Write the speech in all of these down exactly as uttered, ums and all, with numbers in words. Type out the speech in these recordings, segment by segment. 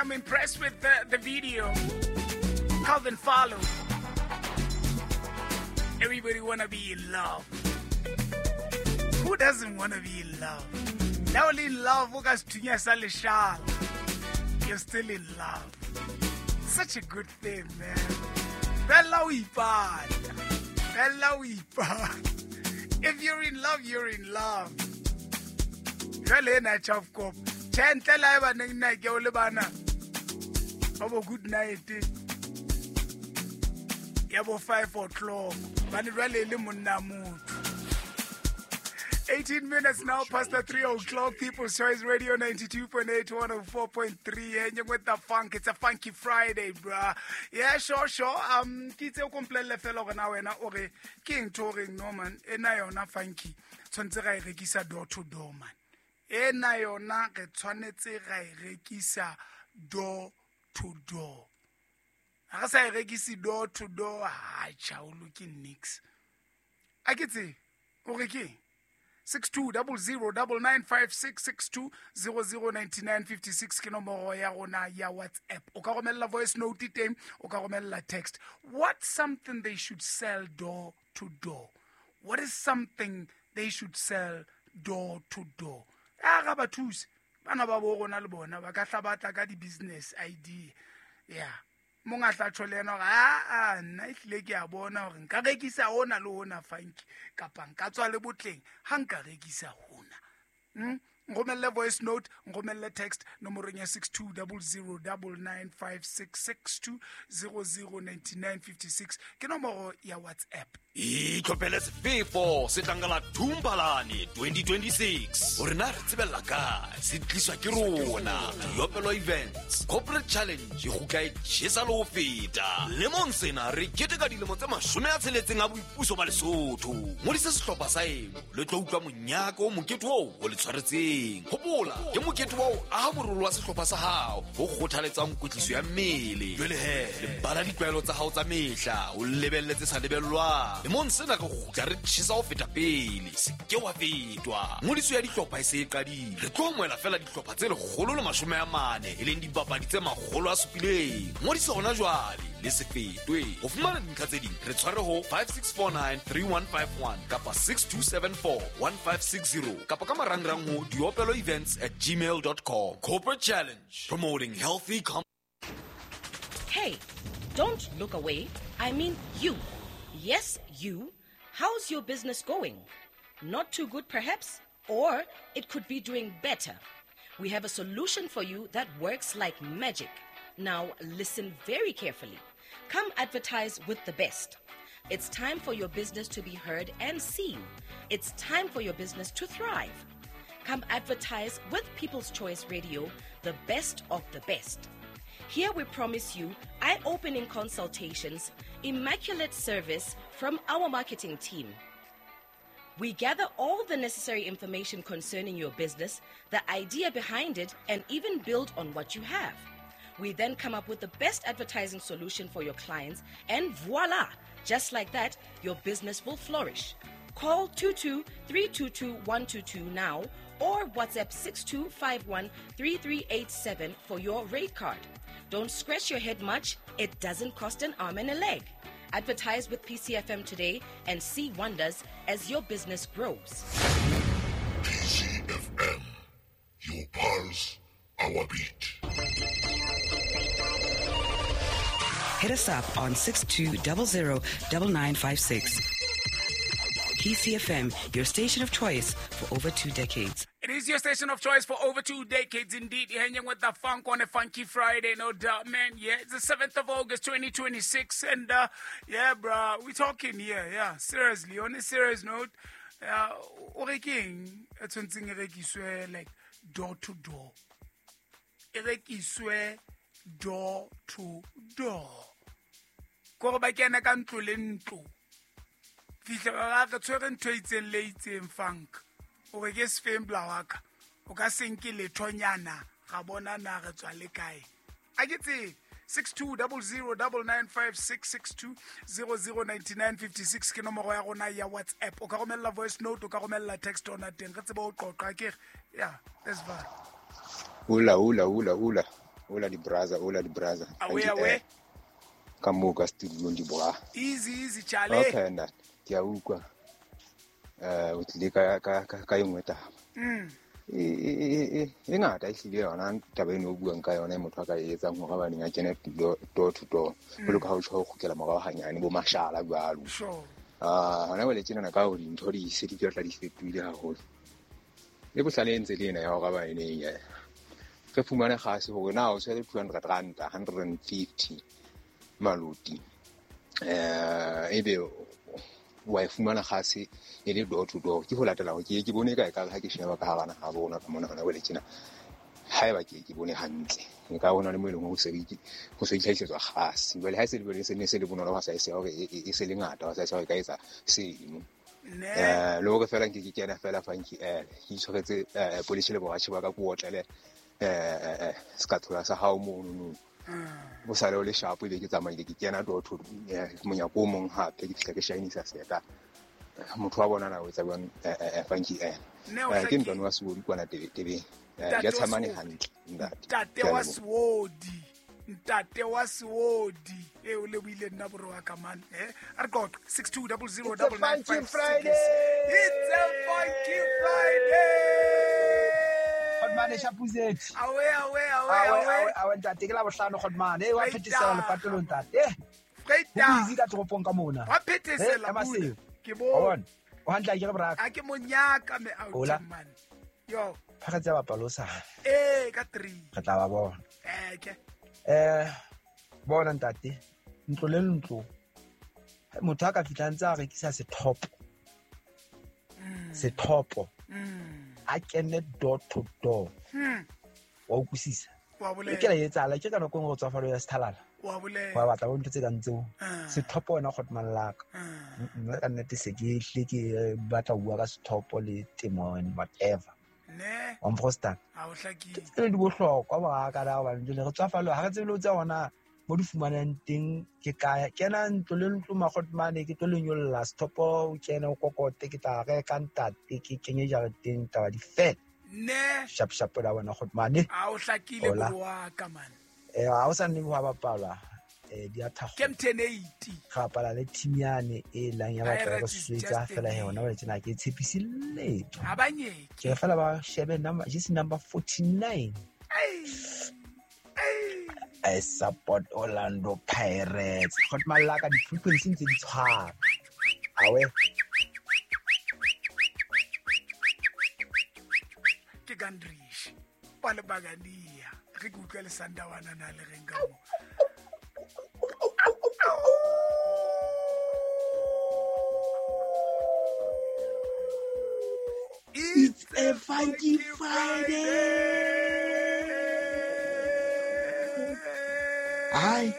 I'm impressed with the, the video. Calvin Follow. Everybody wanna be in love. Who doesn't wanna be in love? Now only in love, o ka sethunya sa leshala. You're still in love. Such a good thing, man. Bella o ipata. Bella o ipata. If you're in love, you're in love. Jwale ena Chafkop. Tjhe, ntle le haeba ne nna ke o le bana. Ba bo good night. Ya bo five o'clock. Bane jwale e le monna motho. eighteen minutes now past the three o'clock. People's Choice Radio ninety-two point eight, one oh four point three. Hanging with the funk. It's a funky Friday, bruh. Yeah, sure, sure. Um, ke itse o komplelle fela hore na wena o re ke eng ntho o reng no man, ena yona funky. Tshwanetse ra e rekisa door to door, man. Ena yona re tshwanetse ra e rekisa door to door. Ha re sa e rekise door to door, ha tjha, o loke nix. A ke tsebe, o re keng? six two double zero double nine five six, six two zero zero ninety nine fifty six ke nomoro ya rona ya WhatsApp. O ka romella voice note teng, o ka romella text. What's something they should sell door to door? What is something they should sell door to door? A ga ba thuse. Bana ba bo rona le bona ba ka hla ba tla ka di business idea. Yeah. Monga tla tjho le yena hore, ah, ah, nna ehlile ke a bona hore nka rekisa hona le hona funky, kapa nka tswa le botleng ha nka rekisa hona. Hmm? Nromelle voice note, nromelle text nomorong ya six two double zero double nine five six, six two zero zero ninety nine fifty six ke nomoro ya WhatsApp. Itlhophele sefefo se tlang ka la Thumbalane twenty twenty-six. Hore na re tsebella kae, se tliswa ke rona. Diopelo Events Corporate Challenge e kgutla e tjhesa le ho feta. Lemong sena re keteka dilemo tse mashome a tsheletseng a boipuso ba Lesotho. Ngodisa sehlopha sa eno le tlo utlwa monyaka o mokete oo o le tshwaretseng. Hopola, ke mokete wa ho aha morolo wa sehlopha sa hao o kgothaletsang kwetliso ya mmele. Jwale he, lebala ditlwaelo tsa hao tsa mehla, o lebelle tse sa lebellwang. Lemong sena re kgutla re tjhesa ho feta pele, se ke wa fetwa. Ngodiso ya dihlopha e se e qadile. Re tlo amohela feela dihlopha tse lekgolo le mashome a mane, e leng dibapadi tse makgolo a supileng. Ngodiso hona jwale, le se fetwe. Ho fumana dintlha tse ding, re tshware ho five six four nine three one five one kapa six two seven four one five six zero kapa ka marangrang ho diopelo events at gmail dot com. Corporate Challenge, promoting healthy com- Hey, don't look away. I mean you. Yes, you. How's your business going? Not too good, perhaps? Or it could be doing better. We have a solution for you that works like magic. Now, listen very carefully. Come advertise with the best. It's time for your business to be heard and seen. It's time for your business to thrive. Come advertise with People's Choice Radio, the best of the best. Here we promise you eye-opening consultations, immaculate service from our marketing team. We gather all the necessary information concerning your business, the idea behind it, and even build on what you have. We then come up with the best advertising solution for your clients, and voila! Just like that, your business will flourish. Call two two three two two one two two now or WhatsApp six two five one three three eight seven for your rate card. Don't scratch your head much. It doesn't cost an arm and a leg. Advertise with P C F M today and see wonders as your business grows. P C F M, your pulse, our beat. Hit us up on six two double zero double nine five six. P C F M, your station of choice for over two decades. It is your station of choice for over two decades indeed. You're hanging with the funk on a funky Friday, no doubt, man. Yeah, it's the seventh of August, twenty twenty-six. And, uh, yeah, bruh, we're talking here, yeah, seriously. On a serious note, uh, o re keng e tshwantseng e rekiswe, like, door to door. E rekiswe door to door. Kore ba kene ka ntlo le ntlo. Fihle ba re tshwere ntho e itseng le itseng funk. O re ke sefeng bla wa ka. O ka se nke lethonyana, ra bona na re tswa le kae. A ke tsebe. six two double zero double nine five six, six two zero zero ninety nine fifty six ke nomoro ya rona ya WhatsApp. O ka romella voice note, o ka romella text ona teng. Re tsebe ho qoqa ke re. Yeah, that's fine. Hola, hola, hola, hola. Hola di brother, hola di brother. Awe awe. Ka mo ka studio di bra. Easy easy chale. Okay nna. Ke a utlwa. Eh o tlile ka ka ka engwe taba. Mm. E e e e ngata e hlile yona taba eno o buang ka yona e motho a ka e etsang hore ba neng a kene door to door. Jwalo ka ha o tjho ho kgutlela morao hanyane bo mashala jwalo. Sure. Ah, hona jwale tjenana ka hore dintho di se di tla di fetohile haholo. Le bohlale ntse le ena ya hore ba eneng ya re fumane kgase hore na o tshwere two hundred rand, one hundred fifty maloti. Eh ebe wa e fumana kgase e le door to door. Ke ho latela hore ke ke bone ka e ka ha ke sheba ka hara naha rona ka mona hona jwale tjena. Haeba ke ke bone hantle. Nka bona le mo e leng hore se ho se itlhahisetswa kgase. Jwale ha e se le bone se ne se le bonolo ha sa e se hore e se le ngata ha sa e se hore e ka etsa seno. Eh le hore fela nke ke kena fela funky eh ke itshwaretse eh polish le boratjhe ba ka ko otlele eh skathola sa hao mono no. Bo sale o le sharp ebe ke tsamaile ke kena door to monyako o mong hape ke fihla ke shinisa seta. Motho wa bona na o etsa jwang eh funky eh ke ntwana wa Seodi kwana tebeng. Ya tshamane hantle ntate. Ntate wa Seodi. Ntate wa Seodi. E o lebohile nna boro wa ka man eh a re qoqa six two zero zero nine nine five. Friday. It's a funky Friday. Godmane Shapuzet. Awe awe awe awe awe ntate ke la bohlano Godmane e wa phethesela lepatolong ntate. Freita. O busy ka toropong ka mona. Wa phethesela ke bona. O hantle ke re braka. A ke monyaka me out man. Yo. Phakatsa bapalosa. Eh ka three. Re tla ba bona. Eh ke. Eh bona ntate ntlo le ntlo motho a ka fihla ntse a rekisa sethopo. Sethopo. A kene door to door. Mm. Wa utlwisisa. Wa bolela. Ke la etsahala ke ka nako e nngwe go tswafalo ya sethalala. Wa bolela. Wa batla bo ntho tse kang tseo. Sethopo wena Godman laka. Nna ka nnete se ke hle ke batla ho bua ka sethopo le temo and whatever. Ne. Wa mfrostan. Ha o hlakile. Ke di bohlokwa ba ka da hobane jwale re tswafalo ha re tsebe le tsa hona mo di fumanang teng ke kae. Kena ntlo le ntlo Magodmane ke tlo le nyolla sethopo o kene o kokote ke tla reka ntate ke kenye jareteng taba di fela. Ne. Sharp sharp la bona Godmane. Ha o hlakile bro wa ka man. Eh ha o sa nne ho bapalwa eh di a thakgo. Ke M ten eighty. Ga bapala le team yane e lang ya batla re swetsa fela he hona ba tsena ke tshepisi letho. Ha ba nyeke. Ke fela ba shebe number just number forty-nine. Ai. I support Orlando Pirates. Godman la ka di frequency ntse di tshwana. Awe. Ke Gandrish. Pa le bagania. Re ke utlwa le Sandawana na le reng ka mo. It's a funky Friday. Hi.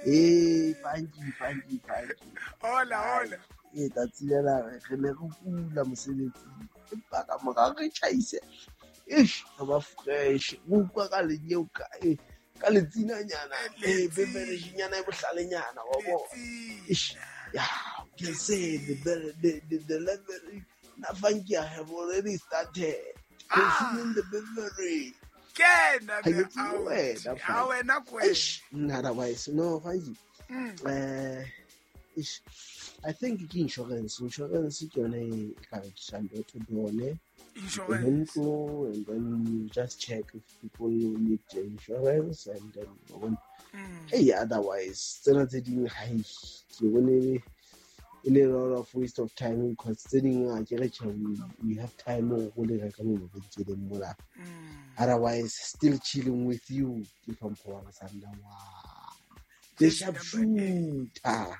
Hey, funky, funky, funky. Hola, hola. Eh, tsatsi lena re ne re kula mosebetsing. Empa ka mora re tjhaise. Eish, re ba fresh. Re utlwa ka lenyeo ka eh ka letsinanyana, eh beberejinyana e bohlalenyana wa bona. Eish, yeah, you can say the the the, the level na funky I have already started consuming the beverage. Kena me a wena kwe. Otherwise no funky. Eh ish I think ke insurance insurance ke yone e ka rekisang door to door ne. Insurance and then you just check if people need insurance and then mm. Hey otherwise tsena tse ding ha ke bone e le lot of waste of time because tse ding a ke re we have time go le reka mo mabenkeleng mola. Otherwise still chilling with you ke hlompho wa Sandawana the sharpshooter.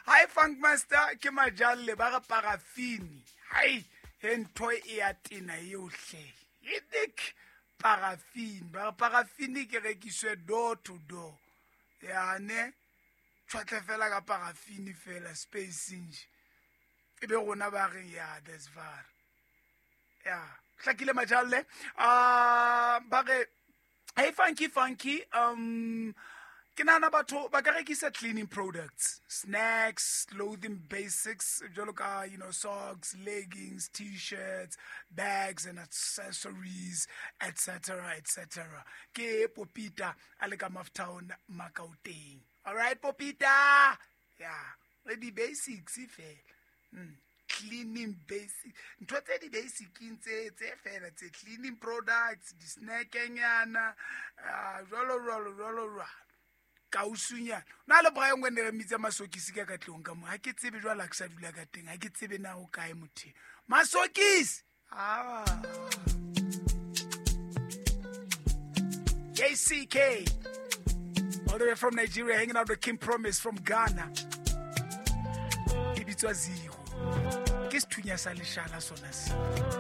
Hi Funk Master ke majalle ba re parafini. Hai he ntho e ya tena yohle. E dik parafini ba re parafini ke rekiswe door to door. Ya ne tshwatle fela ka parafini fela space nje. E be rona ba re ya this var. Ya hlakile majalle. Ah ba re hey funky funky um Ke nahana batho ba ka rekisa cleaning products, snacks, clothing basics, jwalo ka, you know, socks, leggings, t-shirts, bags and accessories, et cetera, et cetera. Ke Popita a le ka Maftown, Makauteng. All right, Popita. Yeah, le di-basics fela. Mm. Cleaning basic, ntho tse di basicing tse tse fela tse, cleaning products, di-snacknyana, uh, jwalo jwalo jwalo jwalo. Kausunyana na le Brian ngwe ne re mitsa Masokisi ka ka tlong ka mo, ha ke tsebe jwale ha ke sa dula ka teng, ha ke tsebe na o kae motho Masokisi. Ah, J C K all the way from Nigeria, hanging out with King Promise from Ghana. E bitswa Zero, ke sethunya sa leshala sona se.